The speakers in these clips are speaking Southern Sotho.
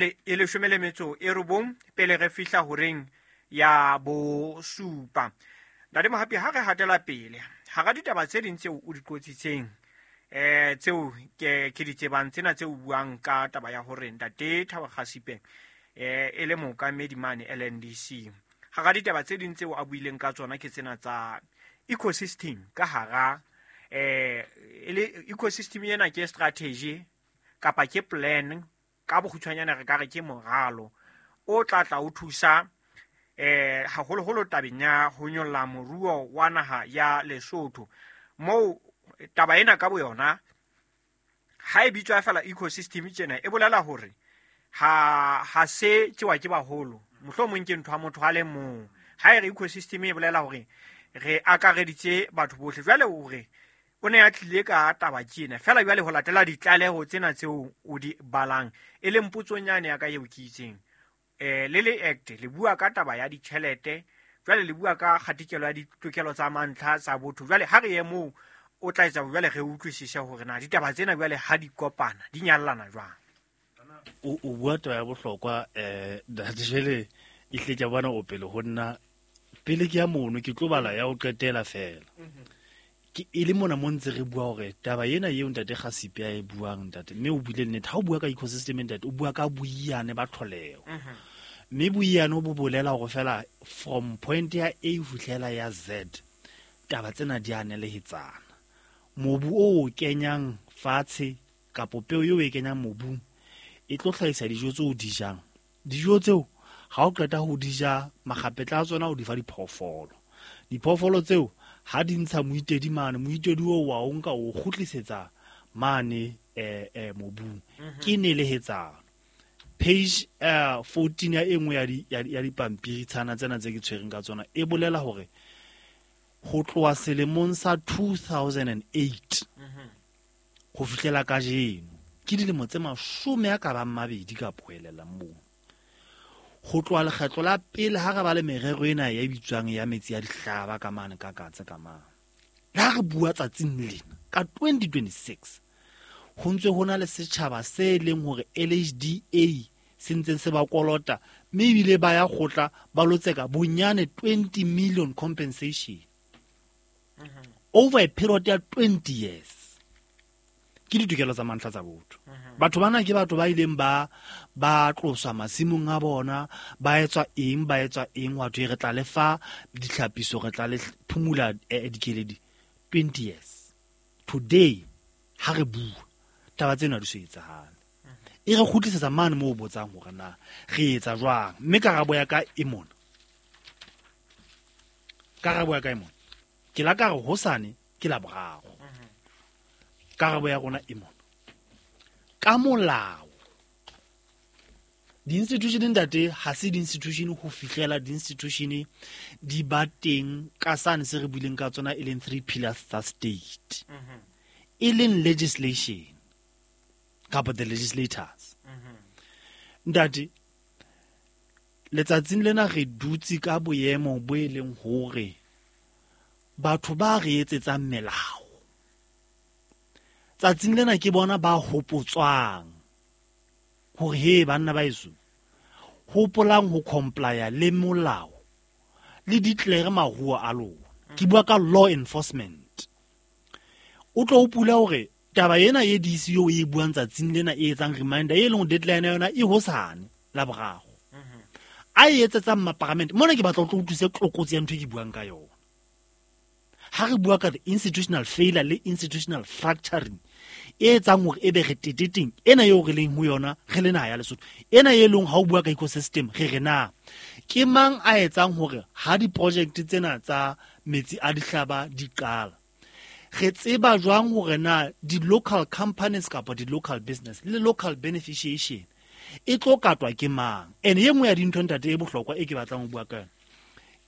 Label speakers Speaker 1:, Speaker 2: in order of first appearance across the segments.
Speaker 1: E 19 pele re fihla horeng ya 7. Ntate Mohapi, ha re hatela pele hara ditaba tse ding tseo o di qotsitseng, tseo ke di tsebang tsena tseo o buang ka taba ya hore Ntate Thabo Khasipe e le mookamedi mane LNDC, hara ditaba tse ding tseo a buileng ka tsona ke tsena tsa ecosystem. Ka hara e le ecosystem ena ke strategy kapa ke plan, ka bokgutshwanyane re ka re ke moralo o tla tla o thusa haholoholo tabeng ya ho nyolla moruo wa naha ya Lesotho. Moo taba ena ka boyona ha e bitswa fela ecosystem tjena, e bolela hore ha se tsewa ke baholo, mohlomong ke ntho ya motho a le mong. Ha e re ecosystem e bolela hore re akareditse batho bohle. Jwale o re o ne a tlile ka taba tjena fela, jwale ho latela ditlaleho tsena tseo o di balang, e leng potsonyane ya ka eo ke itseng, le le act le bua ka taba ya ditjhelete, jwale le bua ka kgatikelo ya ditokelo tsa mantlha tsa botho. Jwale ha re ye moo o tla etsa jwale re utlwisise hore na ditaba tsena jwale ha di kopana di nyallana jwang.
Speaker 2: O bua taba ya bohlokwa, ntate. Jwale e hle ke a bona o pele ho nna, pele ke ya mono ke tlo bala ya ho qetela fela. Ke e le mona mo ntse re bua hore taba ena eo Ntate Khasipe a e buang, ntate, mme o buile nnete. Ha o bua ka ecosystem, ntate, o bua ka boiyane ba tlholeho, mme boiyane bo bolela hore fela from point ya A ho fihlela ya Z taba tsena di a nelehetsana. Mobu o o kenyang fatshe kapo peo eo e kenyang mobung e tlo hlahisa dijo tseo o di jang. Dijo tseo ha o qeta ho di ja, makgapetla a tsona o di fa diphoofolo. Diphoofolo tseo ha di ntsha moitedi mane, moitedi oo wa o nka o kgutlisetsa mane mobung. Ke nelehetsano. Page 14 ya e nngwe ya dipampiri tshana tsena tse ke tshwereng ka tsona e bolela hore ho tloha selemong sa 2008 ho fihlela kajeno, ke dilemo tse 20 ka poelela moo. Ho tloha lekgetlo la pele ha re ba le merero ena ya bitswang ya metsi ya dihlaba ka mane ka katse ka mane, le ha re bua tsatsing lena ka 2026, ho ntse ho na le setjhaba se leng hore LHDA se ntse se ba kolota, mme ebile ba ya kgotla ba lotseka bonyane 20 million compensation over a period ya 20 years. Ke ditokelo tsa mantlha tsa botho. Batho bana ke batho ba ileng ba tloswa masimong a bona, ba etswa eng, ba etswa eng, wa thwe re tla le fa ditlhapiso, re tla le phumula dikeledi. 20 years today ha re bua taba tsena di so etsahale. E re kgutlisetsa mane moo o botsang hore na re etsa jwang, mme karabo ya ka e mona. Karabo ya ka e mona. Ke la ka re hosane ke la boraro. Karabo ya rona e mona. Ka molao, di-institution, ntate, ha se di-institution ho fihlela di-institution di ba teng ka sane se re buileng ka tsona, e leng three pillars tsa state, e leng legislation kapa the legislators. Ntate, letsatsing lena re dutse ka boemo bo e leng hore batho ba re etsetsang melao tsatsing lena ke bona ba hopotswang hore he banna ba eso hopolang ho complya le molao le declare maruo a lona. Ke bua ka law enforcement. O tlo hopula hore taba ena e DC eo e buang tsatsing lena e etsang reminder e leng deadline ya yona e hosane la boraro, a e etsetsang maparamente mona. Ke batla o tlo utlwise tlokotsi ya ntho e ke buang ka yona ha re bua ka the institutional failure le institutional fracturing e etsang hore ebe re teteteng ena eo re leng ho yona re le naha ya Lesotho ena e leng ha o bua ka ecosystem. Re re na ke mang a etsang hore ha di-project tsena tsa metsi a dihlaba di qala, re tseba jwang hore na di-local companies kapa di-local business le local beneficiation e tlo katwa ke mang? And e nngwe ya dintho, ntate, e bohlokwa e ke batlang ho bua ka yona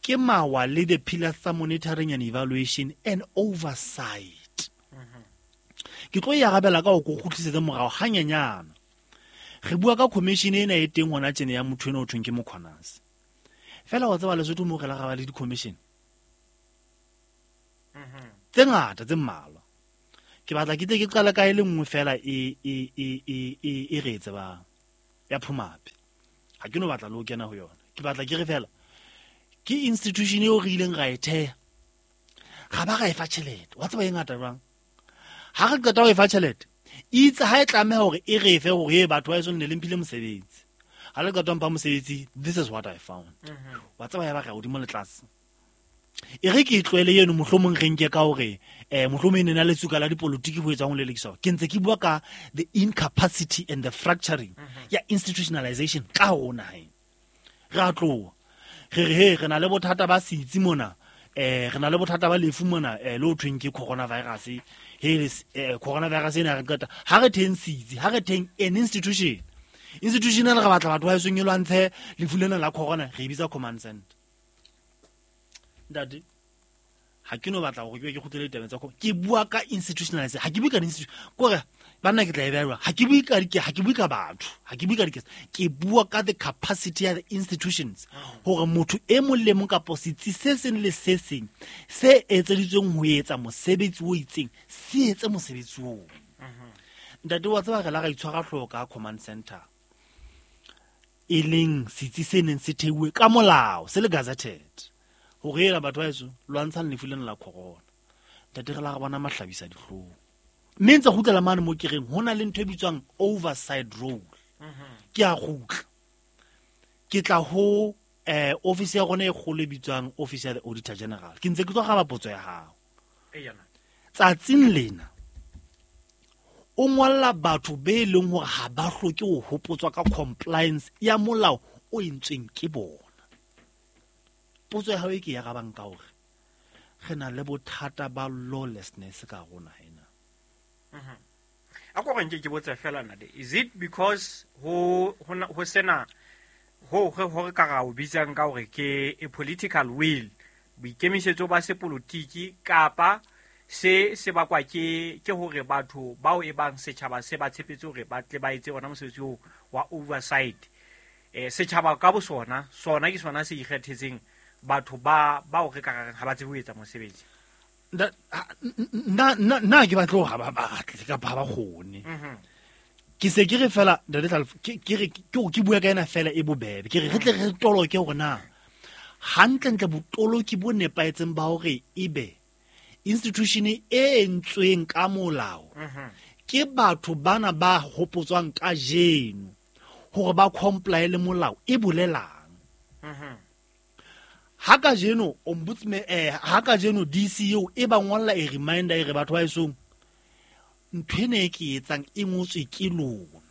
Speaker 2: ke mawa le the pillars tsa monitoring and evaluation and oversight. Ke tlo e arabela ka ho ko kgutlisetse morao hanyenyana. Re bua ka commission ena e teng hona tjena ya motho ena o thweng ke Mokgonase. Fela wa tseba Lesotho mo re la ra ba le di-commission tse ngata tse mmalwa. Ke batla ke tle ke qale ka e le nngwe fela e re e tsebang. ya Phumape. Ha ke no batla le ho kena ho yona. Ke batla ke re fela ke institution eo re ileng ra e theha. Ga ba ra e fa tjhelete. Wa tseba e ngata jwang? Ha re qeta ho e fa tjhelete, itse ha e tlameha hore e re fe hore e batho ba eso nne le mphile mosebetsi. Ha le qeta ho mpha mosebetsi, this is what I found. Wa tseba ya ba re hodimo le tlase. E re ke e tlohele eno, mohlomong re nke ka hore mohlomong e ne na le tsuka la dipolotiki ho etswang ho lelekiswa. Ke ntse ke bua ka the incapacity and the fracturing ya institutionalization ka ho naheng. Re a tloha. Re re he re na le bothata ba setsi mona, re na le bothata ba lefu mona, le ho thweng ke coronavirus. He coronavirus ena re qeta ha re theng setsi, ha re theng an institution. Institution ena re batla batho ba esong e lwantshe lefu lena la corona, re e bitsa command center. Ntate, ha ke no batla hore ke be ke kgutlele ditabeng tsa ke bua ka institutionalization, ha ke bue ka institution. Kore banna ke tla e beha jwang? Ha ke bue ka ha ke bue ka batho, ha ke bue ka diketso, ke bua ka the capacity ya the institutions hore motho e mong le mong kapo setsi se seng le se seng se etseditsweng ho etsa mosebetsi o itseng se etse mosebetsi oo. Ntate, wa tseba re la ra itshwara hlooho ka command center, e leng setsi se neng se theuwe ka molao, se le gazetted, hore ela batho ba heso lwantshang lefu lena la corona. Ntate, re la re bona mahlabisa dihlong. Mme ntse kgutlela mane mo ke reng ho na le ntho e bitswang oversight role. Ke a kgutla. Ke tla ho office ya rona e kgolo e bitswang Office ya the Auditor General. Ke ntse ke tlo araba potso ya hao. Tsatsing lena o ngolla batho be leng hore ha ba hloke ho hopotswa ka compliance ya molao o entsweng ke bona. Potso ya hao e ke e arabang ka hore re na le bothata ba lawlessness ka rona ena.
Speaker 1: A ko re nke ke botse fela nade, is it because ho ho sena ho re ka ra o bitsang ka hore ke a political will, boikemisetso ba sepolotiki, kapa se se bakwa ke hore batho bao e bang setjhaba se ba tshepetse hore ba tle ba etse ona mosebetsi oo wa oversight? Setjhaba ka bo sona, sona ke sona se ikgethetseng batho ba bao re ka reng ha ba tsebe ho etsa mosebetsi.
Speaker 2: Nna ke batle hore ha ba batle kapa ha ba kgone. Ke se ke re fela ntate Tlhalefo, ke re ke bua ka ena fela e bobebe. Ke re re tle re toloke hore na hantlentle botoloki bo nepahetseng ba hore ebe institution e entsweng ka molao ke batho bana ba hopotswang kajeno hore ba comply le molao e bolelang. Ha kajeno ombudsman, ha kajeno DC eo e ba ngolla e reminder e re batho ba esong ntho ena e ke etsang e ngotswe ke lona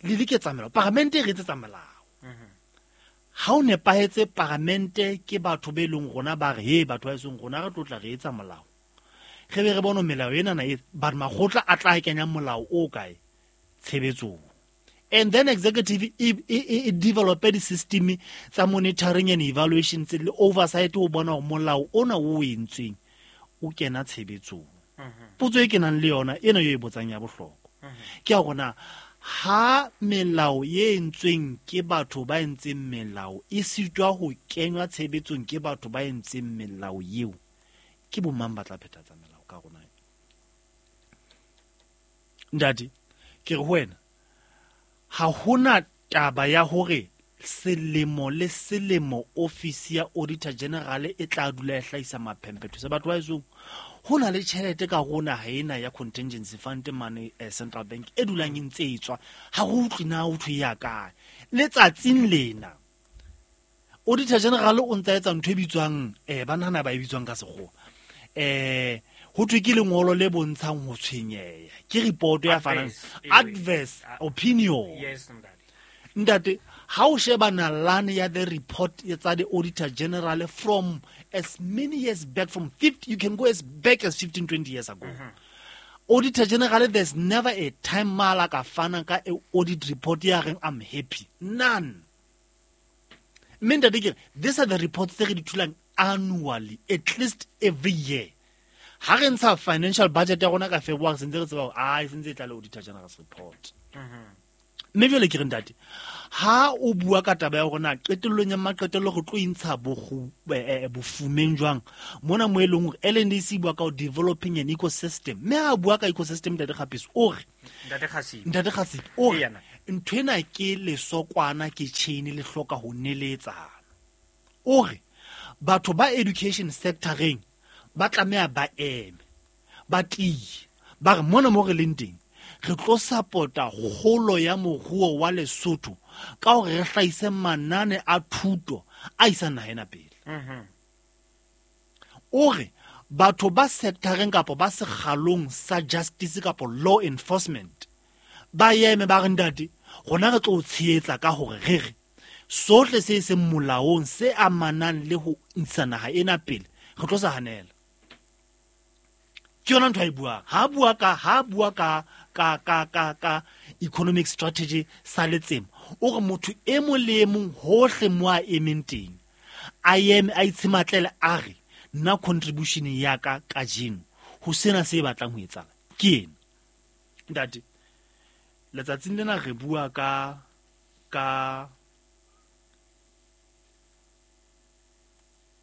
Speaker 2: le diketsa melao, paramente e re etsetsa melao. Ha o nepahetse paramente ke batho be leng rona ba re he batho ba esong rona re tlotla re etsa molao, re be re bone melao ena na e ba makgotla a tla kenya molao o kae tshebetsong. And then executive e develop the system tsa monitoring and evaluation tse le oversight ho bona hore molao ona o entsweng o kena tshebetsong. Potso e kenang le yona ena yo e botsang ya bohlokwa ke ya rona, ha melao e entsweng ke batho ba entseng melao e sitwa ho kenywa tshebetsong ke batho ba entseng melao eo, ke bo mang ba tla phethatsa melao ka rona? Ntate, ke re ho wena ha hona taba ya hore selemo le selemo office ya Auditor General e tla dula e hlahisa maphemphetho se batho ba esong. Ho na le tjhelete ka rona ha ena ya contingency fund mane Central Bank e dulang e ntse e tswa, ha re utlwe na ho thwe ya kae. Letsatsing lena Auditor General o ntsa etsa ntho e bitswang ba nahana ba e bitswang ka sekgowa, ho thwe ke lengolo le bontshang ho tshwenyeha, ke report ya fanang adverse opinion.
Speaker 1: Yes, ntate.
Speaker 2: Ntate, ha o sheba nalane ya the report tsa the Auditor General from as many years back, from 50, you can go as back as 15, 20 years ago. Auditor General, there's never a time mala ka fana ka audit report ya reng I'm happy. None. Mme ntate ke re, these are the reports tse re di thulang annually, at least every year. Ha re ntsha financial budget ya rona ka February, sentse re tseba hore, e sentse e tla le Auditor General's report. Mme jwale ke re ntate, ha o bua ka taba ya hore na qetellong ya maqetello re tlo intsha bofumeng jwang, mona mo e leng hore LNDC bua ka ho developing an ecosystem. Mme ha bua ka ecosystem, Ntate Kgapetso o re,
Speaker 1: Ntate Kgasipe.
Speaker 2: Ntate Kgasipe o re,
Speaker 1: Ee, yana.
Speaker 2: Nthwena ke lesokwana ke chain le hloka ho neletsana. O re batho ba education sectoreng ba tlameha ba eme, ba tiye, ba re mona mo re leng teng re tlo support-a kgolo ya moruo wa Lesotho ka hore re hlahise manane a thuto a isang naha ena pele. O re batho ba sectoreng kapa ba sekgalong sa justice kapa law enforcement ba eme ba re ntate rona re tlo o tshehetsa ka hore re re sohle se seng molaong se amanang le ho ntsha naha ena pele re tlo sa hanela. Ke yona ntho a e buang. Ha bua ka ha bua ka ka ka ka ka economic strategy sa Letsema, o re motho e mong le e mong hohle mo a emeng teng a eme a itshematlele a re nna contribution ya ka kajeno ho sena se batlang ho etsahala ke ena. Ntate, letsatsing lena re bua ka ka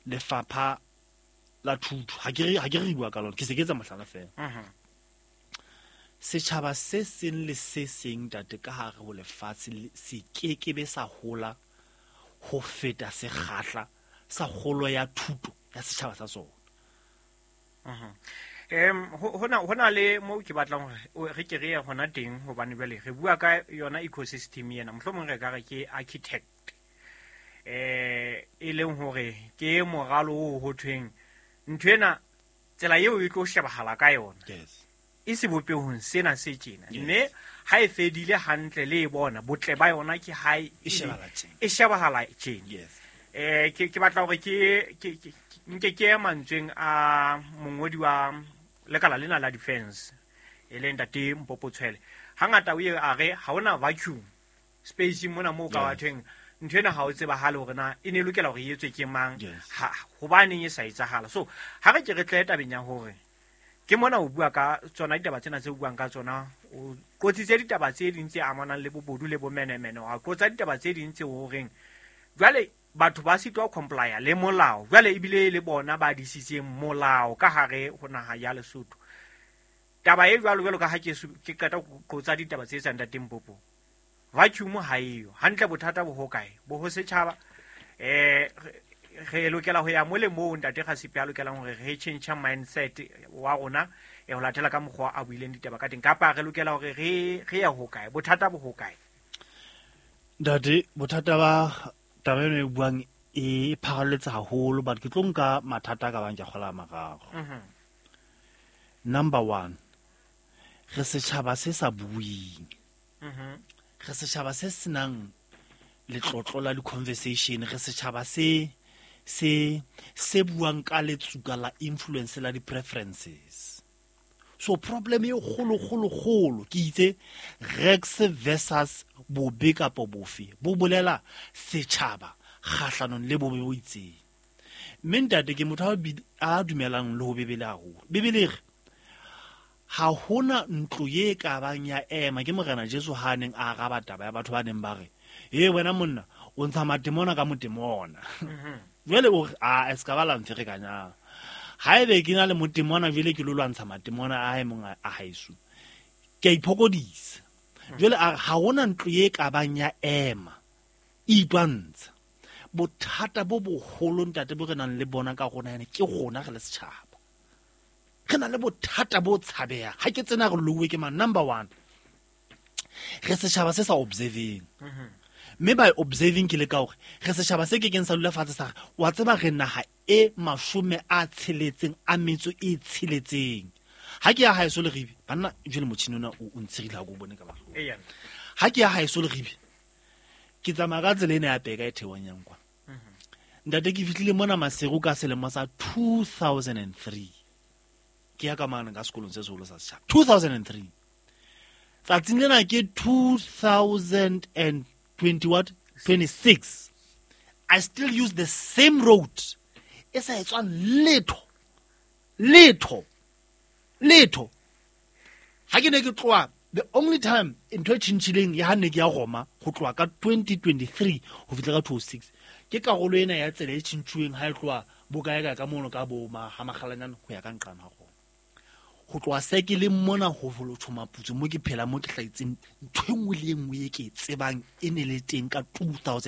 Speaker 2: lefapha la thuto. Ha ke re bua ka lona, ke se ke etsa mohlala fela. Setjhaba se seng le se seng ntate ka hare ho lefatshe se kekebe sa hola ho feta sekgahla sa kgolo ya thuto ya setjhaba sa sona.
Speaker 1: Hona le mo ke batlang hore re ke re ye hona teng, hobane jwale re bua ka yona ecosystem ena, mohlomong re ka re ke architect e leng hore ke moralo o ho thweng ntho ena tsela eo e tlo shebahala ka yona. E sebopehong sena se tjena. Mme ha e fedile hantle le e bona botle ba yona ke ha
Speaker 2: e shebahala tjena.
Speaker 1: E shebahala tjena. Ke batla hore ke nke ke mantsweng a mongodi wa lekala lena la defense e leng ntate Mpopo Tshwele. Hangata o ye a re ha hona vacuum space mona moo ka bathweng ntho ena ha o tsebahale hore na e ne lokela hore e etswe ke mang, ha hobaneng e sa etsahala. So ha re ke re tle tabeng ya hore ke mona o bua ka tsona ditaba tsena tse o buang ka tsona, o qotsitse ditaba tse ding tse amanang le bobodu le bomenemene, wa qotsa ditaba tse ding tse horeng jwale batho ba sitwa ho complya le molao, jwale ebile le bona ba disitseng molao ka hare ho naha ya Lesotho. Taba e jwalo jwalo ka ha ke qeta ho qotsa ditaba tse etsang ntate Mpopo, vacuum ha eyo hantle. Bothata bo hokae? Bo ho setjhaba. Re lokela ho ya mo le moo ntate Rasipe a lokelang hore re change mindset wa rona e ho latela ka mokgwa a buileng ditaba ka teng, kapa re lokela hore re ye hokae? Bothata bo hokae?
Speaker 2: Ntate, bothata ba taba eno e buang e pharalletse haholo, but ke tlo nka mathata ka bang ke kgola mararo. Number 1, re setjhaba se sa buing. Re setjhaba se senang letlotlo la di-conversation, re setjhaba se se buang ka letsuka la influence la di-preferences. So problem e kgolo kgolo kgolo ke itse Rex versus bobe kapa bofe bo bolela setjhaba kgahlanong le bobe bo itseng. Mme ntate ke motho a dumelang le ho Bibele haholo. Bibele re ha hona ntlo ye ka bang ya ema, ke Morena Jesu ha neng a araba taba ya batho ba neng ba re e wena monna o ntsha matemona ka motemona. Jwale o re a se ka ba la mferekanyang, haebe ke na le motemona jwale ke lo lwantsha matemona a hae mong a haeso, ke a iphokodisa. Jwale a ha hona ntlo ye ka bang ya ema e itwantsha. Bothata bo boholo ntate bo re nang le bona ka rona ene ke rona re le setjhaba, re na le bothata bo tshabehang. Ha ke tsena re louwe ke mang? Number 1, re setjhaba se sa observing. Mme by observing ke le ka hore re setjhaba se kekeng sa dula fatshe sa re wa tseba re naha e 66. Ha ke ya haeso Leribe, banna jwale motjhini ona o ntshirile ha ke o bone ka mahlong. Ha ke ya haeso Leribe, ke tsamaya ka tsela ena ya Peka e theohang yang kwa. Ntate ke fihlile mona Maseru ka selemo sa 2003. Ke ya ka mane ka sekolong se seholo sa setjhaba. 2003. Tsatsing lena ke 2026. I still use the same road. E sa etswang letho. Letho. Letho. Ha ke ne ke tloha, the only time ntho e tjhentjhileng ya ha ne ke ya Roma ho tloha ka 2023 ho fihla ka 2006 ke karolo ena ya tsela e tjhentjhuweng ha e tloha bokae ka mono ka bo ha Makgalanyane ho ya ka nqane ha Roma. Ho tloha se ke le mona ho lotho maputso mo ke phela mo ke hlahetseng, ntho e nngwe le e nngwe e ke e tsebang e ne le teng ka 2000.